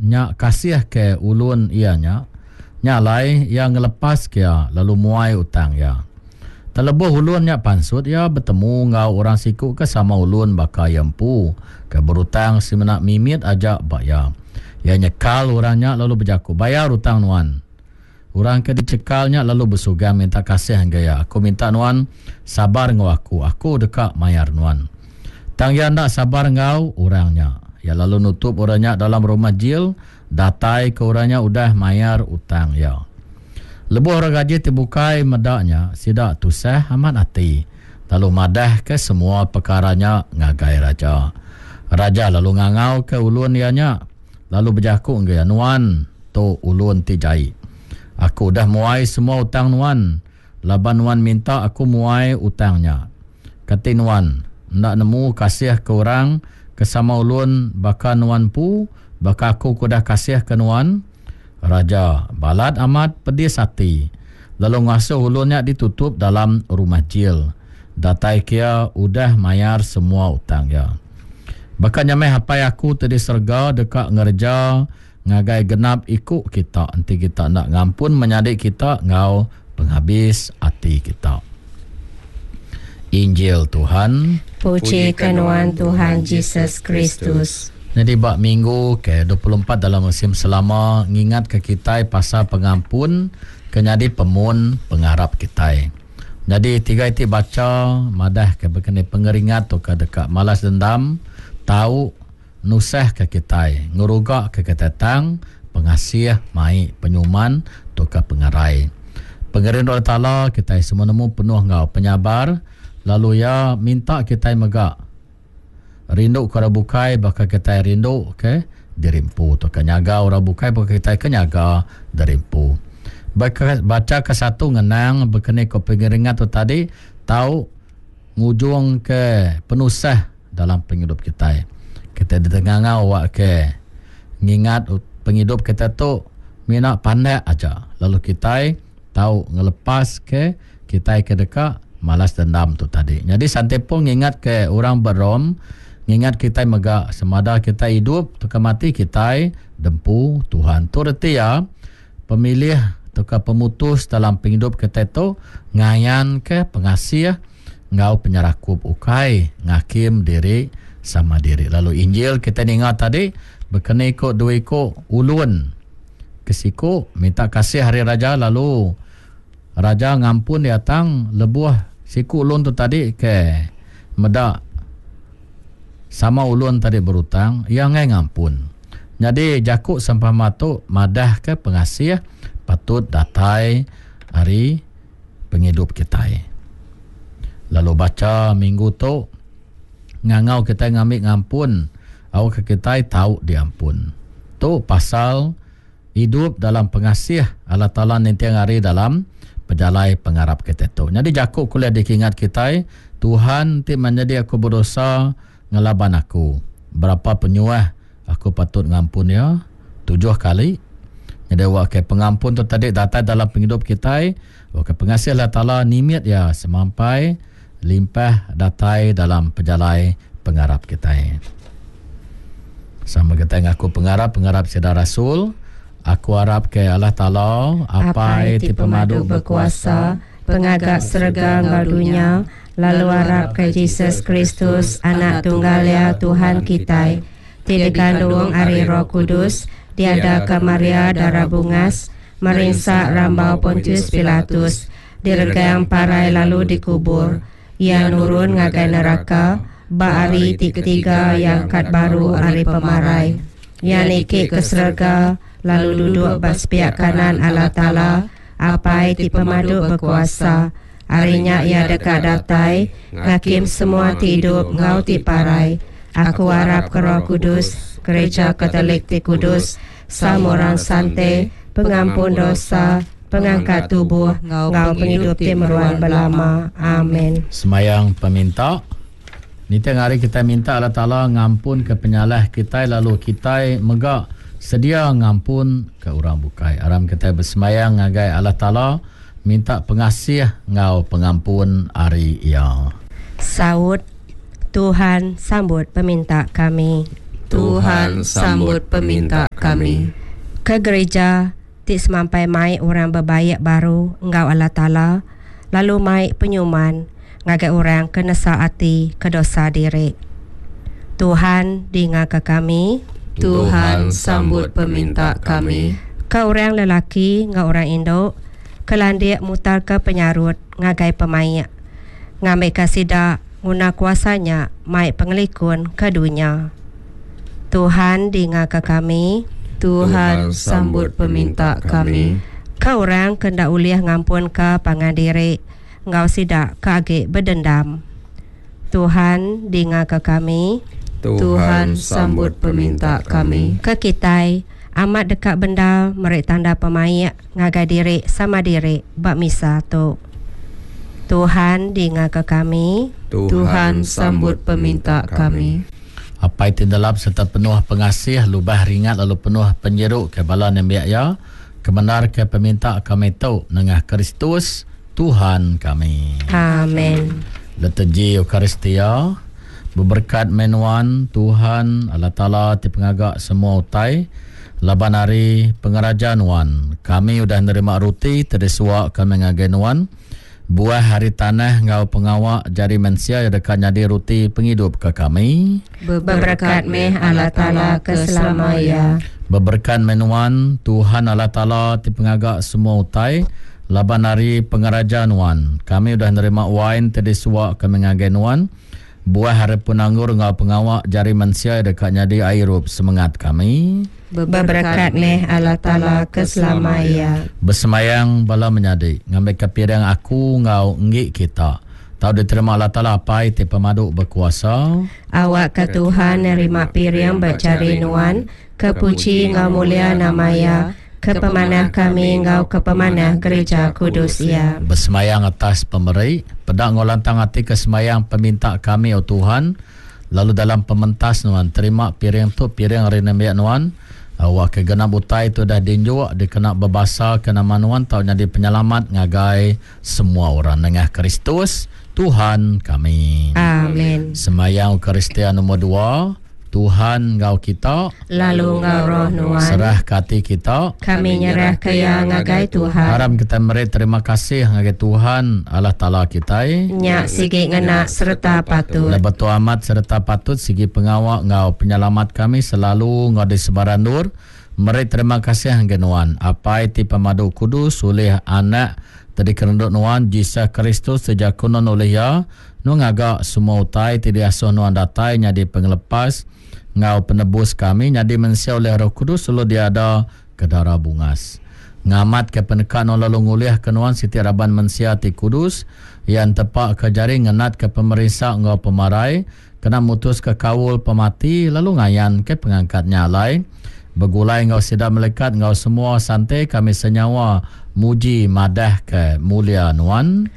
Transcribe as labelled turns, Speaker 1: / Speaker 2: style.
Speaker 1: nya kasihka ulun iya nya. Nya alai, iya ngelepaska iya lalu muai utang iya. Tang lebuh ulun nya pansut, iya betemu enggau orang siku ke sama ulun baka iya empu, ke berutang semina mimit aja ba iya. Iya nyekal orang nya lalu bejaku, Bayar utang nuan! Orang ke dichekal nya lalu besugang minta kasih ngagai iya, Aku minta nuan sabar enggau aku. Aku deka mayar nuan. Tang iya enda sabar enggau orang nya. Iya lalu nutup orang nya dalam rumah jil datai ke orang nya udah mayar utang iya. Lebuh orang gaji ti bukai meda nya, sida tusah amat ati lalu madahka semua pekara nya ngagai raja. Raja lalu ngangauka ulun iya nya lalu bejaku ngagai iya, Nuan tu ulun ti jai. Aku udah muai semua utang nuan laban nuan minta aku muai utang nya. Kati nuan enda nemu kasihka orang ke sama ulun baka nuan empu, baka aku ke udah kasihka nuan? Raja balat amat pedis ati lalu ngasuh ulun nya ditutup dalam rumah jil, datai ke iya udah mayar semua utang iya. Baka nya meh Apai aku ti di serega deka ngereja ngagai genap iku kita enti kita enda ngampun menyadi kita enggau pengabis ati kita. Injil Tuhan.
Speaker 2: Puji ke nuan Tuhan Jesus Kristus.
Speaker 1: Nyadi ba minggu ke 24 dalam musim selama ngingatka kitai pasal pengampun ke nyadi pemun pengarap kitai. Nyadi tiga iti bacha madahka bekeni pengeringat tauka deka malas dendam tau nusahka kitai, ngerugaka kitai tang pengasih mai penyuman tauka pengerai. Pengerindu Allah Taala kitai semua nemu penuh enggau penyabar lalu iya minta kitai mega rindu ke orang bukai baka kitai rindu ke diri empu tauka nyaga orang bukai baka kitai ke nyaga diri empu. Bacha ke satu ngenang bekeni ko pengeringat tu tadi tau ngujung ke penusah dalam pengidup kitai. Kitai ditengah awak ke ngingat pengidup kitai tu mina pandak aja lalu kitai tau ngelepas ke kitai ke deka malas dendam tu tadi. Nyadi Sante Paul ngingat ke orang ba Rome ngingat kitai mega semada kitai idup tauka mati kitai dempu Tuhan. Tu reti iya pemilih tauka pemutus dalam pengidup kitai tu ngayanka pengasih enggau penyerakup ukai ngakim diri sama diri. Lalu Injil kitai ninga tadi bekeni ku dua iku ulun ke siku minta kasih ari raja lalu raja ngampun iya tang lebuh siku ulun tu tadi ke meda sama ulun tadi berutang iya enggai ngampun. Nyadi jaku sempama tu madahka pengasih patut datai ari pengidup kitai. Lalu bacha minggu tu ngangau kitai ngambi ngampun awakka kitai tau diampun. Tu pasal idup dalam pengasih Allah Taala ninting hari dalam pejalai pengarap kitai tu. Nyadi jaku ke ulih dikingat kitai, Tuhan ti menyadi aku bedosa ngelaban aku. Berapa penyuah Aku patut ngampun iya tujuh kali. Nyadi awak ke pengampun tu tadi datai dalam pengidup kitai, awak ke pengasih Allah Taala nimit iya semampai limpah datai dalam pejalai pengarap kitai. Sama kitai ngaku pengarap pengarap sida rasul, aku arap ke Allah Taala, Apai ti pemadu
Speaker 2: bekuasa, pengaga serega enggau dunya, lalu arap ke Jesus Kristus, Anak tunggal Iya, Tuhan kitai, ti dikandung ari Roh Kudus, diadaka Maria dara bungas, merinsa rambau Pontius Pilatus, diregang parai lalu dikubur, Iya nurun ngagai neraka, ba hari ti ketiga Iya angkat baru ari pemarai. Iya niki ke serega, lalu duduk ba sepiak kanan Allah Taala, Apai ti Pemadu Bekuasa. Ari nya iya deka datai ngakim semua ti idup enggau ti parai. Aku arapka Roh Kudus, Gereja Katolik ti kudus, sama orang sante, pengampun dosa, pengangkat tubuh, enggau pengidup ti meruan belama. Amen.
Speaker 1: Semayang peminta. Ninting hari kitai minta Allah Taala ngampunka penyalah kitai lalu kitai mega sedia ngampunka orang bukai. Aram kitai besemayang ngagai Allah Taala minta pengasih enggau pengampun ari Iya.
Speaker 2: Saut, Tuhan, sambut peminta kami. Tuhan sambut peminta kami. Ke gerija ti semampai mai orang bebaik baru enggau Allah Taala lalu mai penyuman ngagai orang ke nesal ati ke dosa diri. Tuhan dingaka kami.
Speaker 3: Tuhan sambut peminta kami.
Speaker 2: Ke orang lelaki enggau orang indu ke landik mutarka penyarut ngagai pemaik, ngambika sida nguna kuasa nya mai pengelikun ke dunya. Tuhan dingaka kami.
Speaker 3: Tuhan sambut peminta kami.
Speaker 2: Ke orang ke enda ulih ngampunka pangan diri enggau sida ke agi bedendam. Tuhan dingaka kami.
Speaker 3: Tuhan sambut peminta kami.
Speaker 2: Ke kitai amat deka bendar meri tanda pemaik ngagai diri sama diri ba misa tu. Tuhan dingaka kami.
Speaker 3: Tuhan sambut peminta kami.
Speaker 1: Apai ti nelap sereta penuh pengasih, lubah ringat lalu penuh penyiru ke bala nembiak Iya, kemendarka peminta kami tu nengah Kristus, Tuhan kami.
Speaker 2: Amen.
Speaker 1: Liturgi Eucharistia, Beberekat meh nuan, Tuhan, Allah Taala ti pengaga semua utai, laban ari pengeraja nuan, kami udah nerima ruti ti disuwa kami ngagai nuan, Buah ari tanah enggau pengawa jari mensia iya deka nyadi ruti pengidup ke kami.
Speaker 2: Beberekat meh Allah Taala ke selama iya.
Speaker 1: Beberekat meh nuan, Tuhan Allah Taala ti pengaga semua utai, laban ari pengeraja nuan, kami udah nerima wain ti disuwa kami ngagai nuan. Buah ari pun anggur enggau pengawa jari mensia iya deka nyadi ai irup semengat kami.
Speaker 2: Beberekat meh Allah Taala ke selama iya.
Speaker 1: Besembayang bala menyadi, ngambika piring aku enggau enggi kita tau diterima Allah Taala Apai ti pemadu bekuasa.
Speaker 2: Awakka Tuhan nerima piring ba jari nuan, ke puji enggau mulia nama Iya, ke pemanah kami enggau ke pemanah gereja kudus Iya.
Speaker 1: Besemayang atas pemeri, peda enggau lantang ati ke semayang peminta kami, O Tuhan, lalu dalam pementas Nuan terima piring tu, piring ari nembiak Nuan, awakka genap utai ti udah dinjuk dikena bebasaka nama Nuan tau nyadi penyelamat ngagai semua orang nengah Kristus, Tuhan kami.
Speaker 2: Amen.
Speaker 1: Semayang Eucharistia numur dua. Tuhan enggau kita.
Speaker 2: Lalu enggau roh nuan.
Speaker 1: Serahka ati kita.
Speaker 2: Kami nyerahka iya ngagai Tuhan.
Speaker 1: Aram kitai meri terima kasih ngagai Tuhan Allah Taala kitai.
Speaker 2: Nya sigi ngena sereta patut.
Speaker 1: Enda betul amat sereta patut sigi pengawa enggau penyelamat kami selalu enggau di sebarang endur meri terima kasih ngagai Nuan, Apai ti Pemadu Kudus ulih Anak ti dikerendu Nuan, Jesus Kristus ti jaku Nuan ulih Iya, Nuan ngaga semua utai ti diasuh Nuan datai nyadi pengelepas enggau penebus kami nyadi mensia ulih Roh Kudus lalu diada ke dara bungas. Ngamatka peneka Nuan lalu ngulihka Nuan siti raban mensia ti kudus, iya entepaka jari ngenatka pemerinsa enggau pemarai, kena mutuska kaul pemati lalu ngayanka pengangkat nya alai begulai enggau sida melikat enggau semua sante kami senyawa muji madahka mulia Nuan.